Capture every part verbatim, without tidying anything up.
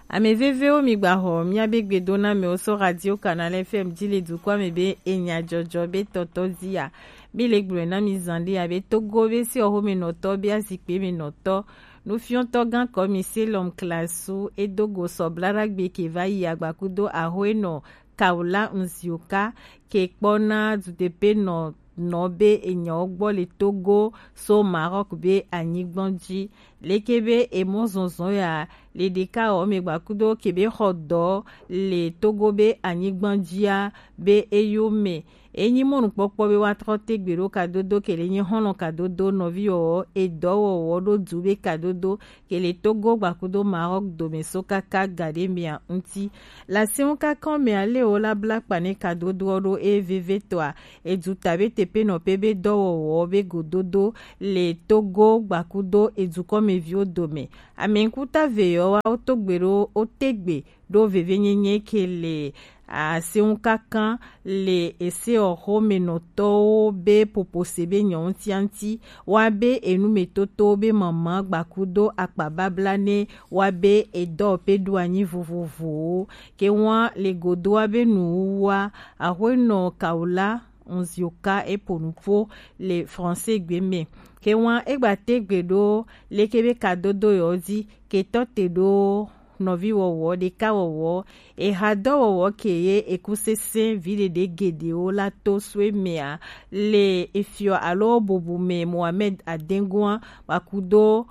Ame vevewo, mi gba xɔ miabe gbedoname wo so Radio Canal F M ji le dukɔa me be enya jɔjɔ be tɔtɔ zia. Mi le gblɔe na mi zan ɖe abe Togo be se ɔxome nɔtɔ be azikpe me nɔtɔ. Nufiɔtɔ gan kɔmi se lɔm klasu edo go sɔ blaɖagbe ke va yi agbakudo axo enɔ Kaola Nzioka ke kpɔna dudepe nɔ nɔ be enyawo gbɔ le Togo so Maroc be anyigban ji. Leke be emɔ zɔnzɔn ya le ɖeka ɔ me gbakudo ke be xɔ dɔ le Togo be anyigban jia be eyo me. Enyi mɔnukpɔkpɔ be wa trɔ te gbe ɖo kadodo ke le nyi xɔlɔ kadodo nɔvi wɔwɔ edɔwɔwɔ ɖo du be kadodo ke le Togo gbakudo Maroc dome so kaka gaɖe mea ŋuti. Le asɛnŋ kakɔ mea le wo la bla kpa ne kadodoɔ ɖo e veve tɔa edu ta be tepe nɔ pe be dɔwɔwɔ be gododo le Togo gbakudo edukɔmeviwo dome. Ame ŋkuta ve yɔ wa wo to gbe ɖo wo te gbe ɖo vevenyenye ke le asɛnŋ kankan le ese ɔxo me nɔtɔwo be popose be nyɔnu tianti wa be enumetotowo be mama gbakudo akpababla ne wa be edɔ pe ɖo anyi vovovowo ke wa le godoa be nuwuwa axoenɔ Kaola Nzioka e po nuƒo le français gbe me ke wa e gba te gbe ɖo leke be kadodo yɔ di ke tɔ te ɖo nɔvi wɔwɔ ɖeka wɔwɔ eha dɔwɔwɔ ke ye ekusese viɖeɖe geɖewo la to soe mea le efiɔ alo bubu me Mohamed Adengoa gbakudo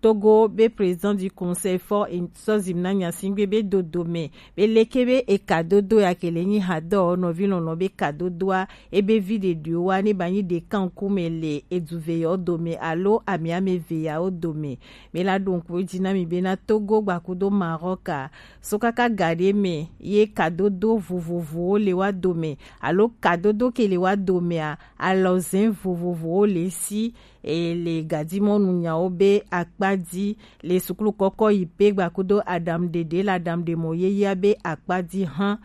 Togo be président du conseil fort sɔ zimna nyasingbe be dodo me be leke be eka dodo ya ke le nyi ha dɔ nɔvi lɔlɔ be ka dodoa ebe viɖeɖewo wa ne ba nyi ɖeka ŋkume le eduve yawo dome alo ame ame ve yawo dome. Mi la ɖo ŋku edzi na mi bena Togo gbakudo Maroc a, so kaka gaɖe me ye kadodo vovovowo le wa dome alo kadodo ke le wa domea, alɔzɛn vovovowo le si e le gadimɔnu nyawo be akpa di le sukulu kɔkɔ yi pe gbakudo aɖaŋuɖeɖe le aɖaŋuɖemɔ yeyea be akpa di hã.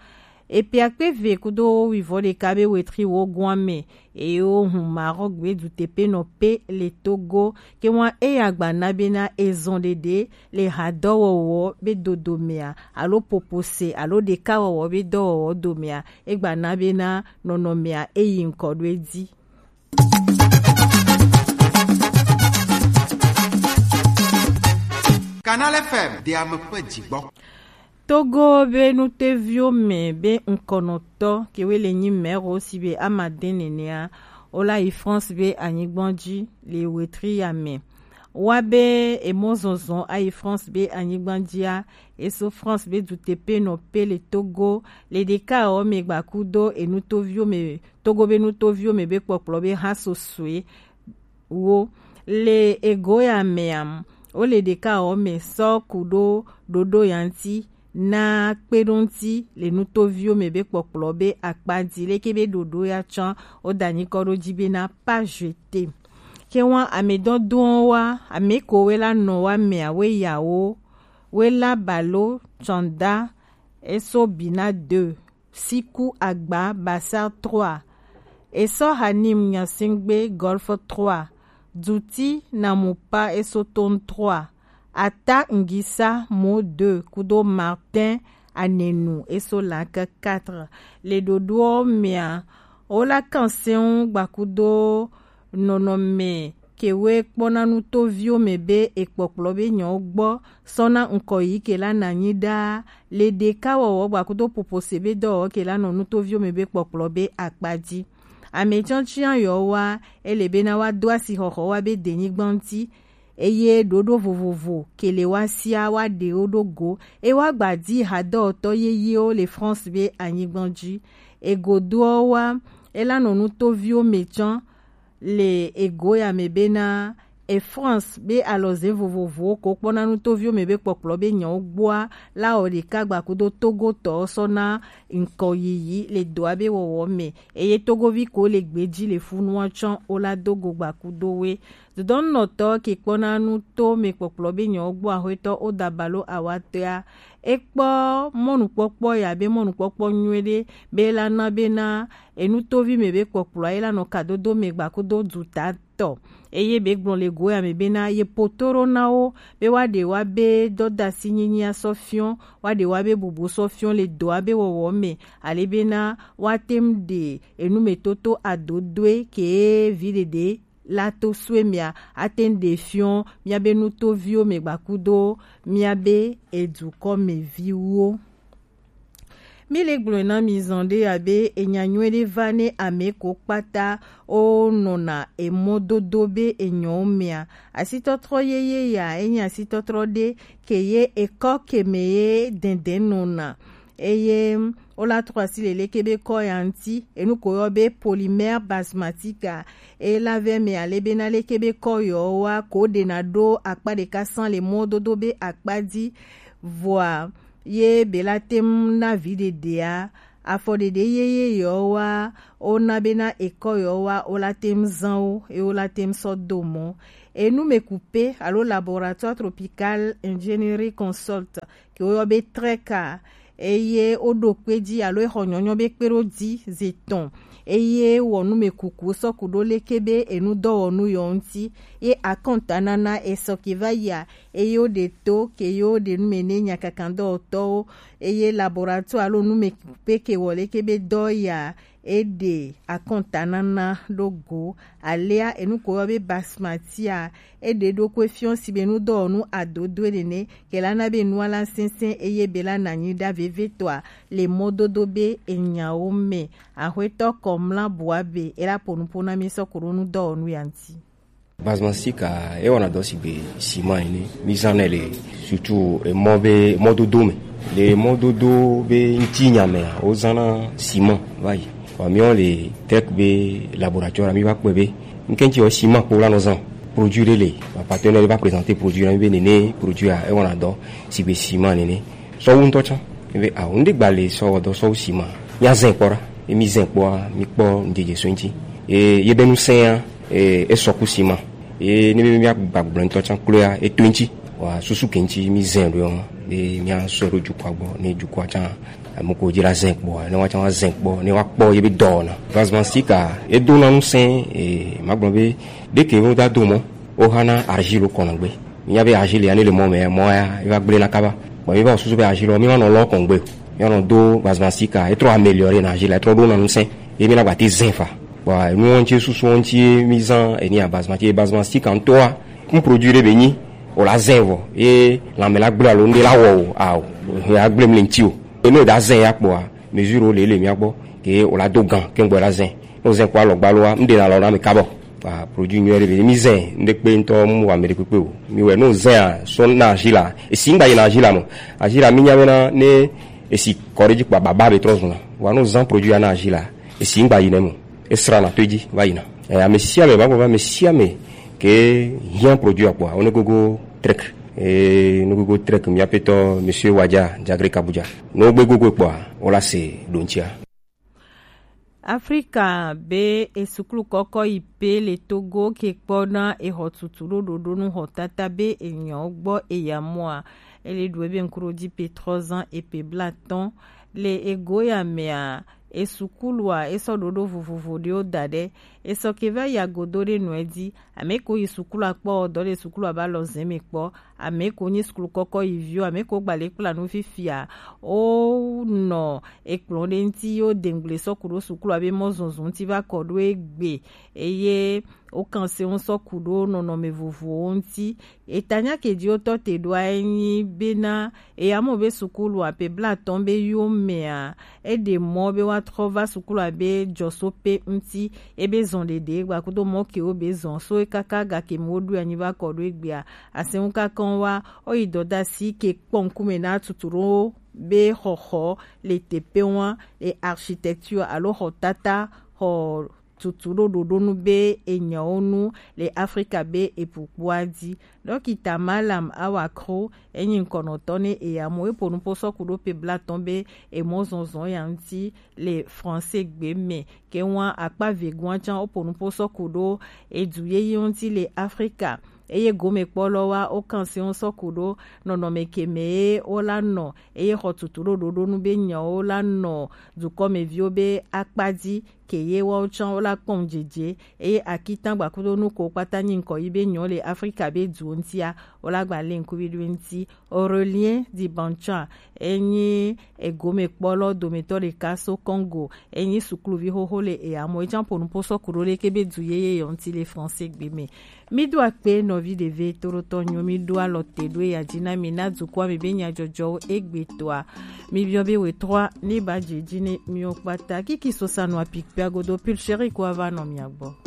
Epe akpe ve kudo wivɔ ɖeka be wetri wo goa me eye wo hun Maroc gbedu tepe nɔ pe le Togo ke wa eya gba na bena ezɔn ɖeɖe le hadɔwɔwɔ be dodomea alo popose alo ɖekawɔwɔ be dɔwɔwɔ domea egba na bena nɔnɔmea eyi ŋkɔ ɖo edzi. Canal F M de ame ƒe dzigbɔ. Togo be nuteviwo me be ŋkɔnɔtɔ kewe le nyi mɛro si be amade nenea, wola yi France be anyigban dzi le wetri ya me. Wa be emɔ zɔzɔ ayi France be anyigban dzia, eso France be dutepe nɔ pe le Togo le ɖeka ɔ me gbakudo enutoviwo me Togo be nutoviwo me be kpɔkplɔ be ha sosoe wo le ego ya mea, wo le ɖeka ɔ me sɔ ku ɖo ɖoɖo ya ŋti na kpe ɖo ŋti le nutoviwo me be kpɔkplɔ be akpa di leke be ɖoɖo ya tsɔ wo da nyikɔ ɖo dzi be na pas jeter. Ke wa ame dɔdɔn wa ame ko we la nɔ wa mea we ya wo we la balo tsɔnda eso bina deux. Siku Agba Bassar trois, Esɔ Hanim Nyasingbe Golf trois, Duti Namupa Esoton trois, Ata Ngisa Mo deux kudo Martin Anenu Esolanke quatre. Le ɖoɖoɔ mea, wola kan sɛn gbakudo nɔnɔme kewe kpɔna nutoviwo me be ekpɔkplɔ be nyawo gbɔ sɔna ŋkɔ yi ke la na nyi ɖaa le ɖeka wɔwɔ gbakudo popose be dɔwɔwɔ ke la nɔ nutoviwo me be kpɔkplɔ be akpa dzi. Ame tsɔtsia yɔ wa ele bena wa do asixɔxɔ wa be denyigba ŋti eye ɖoɖo vovovo ke le wa sia wa ɖe wo ɖo go e wa gba di hadɔwɔtɔ yeyewo le France be anyigba dzi. Egodoɔ wa ela nɔ nutoviwo me tsɔ le ego ya me bena e France be alɔze vovovowo ko kpɔna nutoviwo me be kpɔkplɔ be nyawo gbɔa la wɔ ɖeka gbakudo Togo tɔ sɔ na ŋkɔ yiyi le dɔa be wɔwɔ me eye Togovi ko le gbeji le funua tsɔ wo la do go gbakudo we. Dodɔnnɔtɔ ke kpɔna nu to mɛ kpɔkplɔ be nyɔ gbɔ axwetɔ o dabalo awatɔa. E kpɔ mɔnukpɔkpɔ ya be mɔnukpɔkpɔ nyuie ɖe be la na be na enutovi mɛ be kpɔkplɔ ye la nɔ kadodo mɛ gbakudo duta tɔ. Eye be gblɔ le go ya mɛ be na ye poto ɖo na wo be wa ɖe wa be dɔdasi nyinyi asɔ fiɔ, wa ɖe wa be bubu sɔ fiɔ le dɔ wa be wɔwɔ mɛ, ale be na wa tem ɖe enu mɛ toto adodoe ke vi ɖeɖe la to sue mia ate ŋu ɖe fiɔ miabe nutoviwo mɛ gbakudo miabe edukɔ mɛ viwo. Mi le gblɔe na mi zan ɖe abe enya nyuie ɖe va ne ame ko kpata o nɔna emɔdodo be enyɔwo mea. Asitɔtrɔ yeye ya enye asitɔtrɔ ɖe ke ye ekɔ ke me ye dɛndɛn nɔna. Eye wola trɔ asi le leke be kɔ ya ŋuti. Enu ko yɔ be polymère basmatique a, e la vɛ me ale be na leke be kɔ yɔ wa ko ɖe na ɖo akpa ɖeka san le mɔdodo be akpa dzi. Vɔa ye be la tem na vi ɖeɖea afɔ ɖeɖe yeye yɔ wa o na be na ekɔ yɔ wa o la tem zan wo e o la tem sɔ do mɔ. Enu me kupe alo laboratoire tropical ingénierie consult ke woyɔ be trɛka eye woɖo kpe dzi alo exɔ nyɔnyɔ be kpe ɖo dzi zi tɔn eye wɔ nu me kuku sɔku ɖo leke be enu dɔwɔnu yɔ ŋuti ye akɔnta nana esɔ ke va yia eye woɖe to ke ye woɖe nu me ne nyakakan dɔwɔtɔwo eye laboratoire alo nu me pe ke wɔ leke be dɔ ya eɖe akɔntanana ɖo go. Alea enu ko yɔ be basmati a eɖe ɖo ko efiɔ si be nu dɔwɔnu adodoe nene ke la na be nua la sɛnsɛn eye be la na nyi ɖa vevetɔa le mɔdodo be enyawo me. Axwetɔ kɔmla bua be e la po nupo na mi sɔ ko ɖo nu dɔwɔnu ya ŋuti. Basmansika e wɔna dɔ sigbe siman ene. Mi zan nɛ le surtout emɔ be mɔdodo me. Le mɔdodo be ŋutinya mea, wozãna siman va yi. Vɔ miɔ le tek be laboratoire mi va kpɔe be ŋkɛntsi wɔ siman kpo la nɔ zan. Produit ɖe le, ma partenaire ɖe va présenter produit na mi be nene produit a e wɔna dɔ sigbe siman nene. Sɔwu ŋutɔ tsã. Ebe awo ŋɖe gba le sɔ wɔdɔ sɔwu sima. Mia zɛn kpɔ ɖa. Emi zɛn kpɔa mi kpɔ ŋdedze so ŋti. E ye be nu sɛn ya e sɔ ku sima. E ne be mia gba gblɔ ŋutɔ tsã klo ya e to ŋti. Wa susu ke ŋti mi zɛn ɖo yɔ. E mia sɔ ɖo jukua gbɔ ne jukua tsã. Ame ko dzi la zɛn kpɔa ne wa tsã wa zɛn kpɔ ne wa kpɔ ye be dɔ na. Gazman sika e do na nu sɛn e ma gblɔ be ɖe ke wo da do mɔ. Wohana argile kɔnɔ gbe. Minya be argile ya ne le mɔ me, mɔ ya eva gblẽ na kaba. Bon, mi va susu be argile mi va nɔ lɔ kɔn gbe. Mi va nɔ do basmastika, e trɔ améliorer na argile, e trɔ ɖo na ŋusẽ. Ye mi na gba te zin fa. Bon, nu wɔn tse susu wɔn tse mi zan eni a basma tse basmastika ŋutɔa. Un produit ɖe be nyi o la zin vɔ. Ye lãme la gblẽ alo ŋɖe la wɔ o, a o. Ya gblẽ mi le ŋti o. Eno da zin ya kpɔa. Mesure wo le le mia gbɔ ke o la do gan ke ŋgbɔ la zɛn. Ne o zɛn kɔ alɔgba loa, ŋɖe na lɔ na mi kabɔ. Ah, produit nyuie ɖe be mi zɛn ŋɖe kpe ŋutɔ mu wa me ɖe kpekpe o. Mi wɛ ne o zɛn a sɔ na azi la. Esi ŋgba yi na azi la mɔ. Azi la mi nya be na ne esi kɔ ɖe dzi kpa baba be trɔ zuna. Wa ne o zan produit ya na azi la. Esi ŋgba yi ne mɔ. Esra na to edzi va yina. Eh, ame sia ame, va gbɔ va ame sia ame ke hiã produit akpɔa, wo ne gogo trek. Eh, ne gogo trek, mi aƒetɔ, Monsieur Wadja, Djagre Kabuja. Ne wogbe gogo kpɔa, wola se ɖo ŋutia. Afrika be esuklu kɔkɔ yi pe le Togo ke kpɔ na exɔ tutu ɖo ɖoɖo nu xɔ tata be enyɔ gbɔ eya mɔa. Ele ɖu ebe ŋkuɖodzi pe trɔ zan epe blatɔn. Le ego ya mea, esukulua, esɔ ɖoɖo vovovo ɖewo da ɖe. Esɔ ke va yi agodo ɖe nɔe dzi. Ame ko yi sukulua kpɔ, dɔ le sukulua ba lɔ zɛn me kpɔ. Ame ko nyi sukulu kɔkɔ yi viwo, ame ko gba le kpla nu fifia. O nɔ ekplɔ ɖe ŋti yo dengble sɔ ku ɖo sukulua be mɔ zɔzɔ ŋti va kɔ ɖo egbe. Eye Wokan se ŋu sɔ ku ɖo nɔnɔme vovowo ŋuti. Etanya ke dzi wotɔ te ɖoa enyi bena eya mɔ be sukulu ape blatɔn be yo mea, eɖe mɔ be woatrɔ va sukulu abe jɔso pe ŋuti. Ebe zɔn ɖeɖe gbakudo mɔ ke wo be zɔn so ekaka ga ke mu woɖo anyi va kɔ ɖo egbea. Asɛnŋu kakɔn wa woyi dɔdasi ke kpɔ ŋkume na tutu ɖo be xɔxɔ le teƒe wa le architecture alo xɔtata xɔ tutu ɖo ɖoɖonu be enyawo nu le Afrika be epu kpoa dzi. Dɔkita Malam Awakro enyi ŋkɔnɔtɔ ne eya mo epo nupo sɔku ɖo pe blatɔn be emɔ zɔnzɔn ya ŋuti le français gbe me. Ke ŋua akpa vegoa can opo nupo sɔku ɖo edu yeye ŋuti le Afrika. Eye gomekpɔlɔ wa o kan se ŋu sɔku ɖo nɔnɔme ke me ye wo la nɔ eye xɔ tutu ɖo ɖoɖonu be nyawo la nɔ dukɔmeviwo be akpa dzi ke ye woawo tsã wola kpɔm dzedze eye akitangba kudo nu ko kpata nyi ŋkɔ yi be nyɔ le Afrika be duwo ŋutia wola gba le ŋkuvi ɖo ŋuti. Aurelien Dibancha enyi egomekpɔlɔ dometɔ ɖeka so Congo enyi sukluvi xoxo le eyamɔ etsã ƒo nuƒo sɔ ku ɖo leke be du yeye yɔ ŋuti le français gbe me. Mi do akpe nɔvi ɖeve toɖotɔ nyo mi ɖo alɔ te ɖo eya dzi na mi na dukɔa me be nyadzɔdzɔwo egbetɔa. Mi biɔ be wetɔa ne ba dze dzi ne miwo kpata kiki sosa nɔ apikpia godo Pulchérie ko ava nɔ mia gbɔ.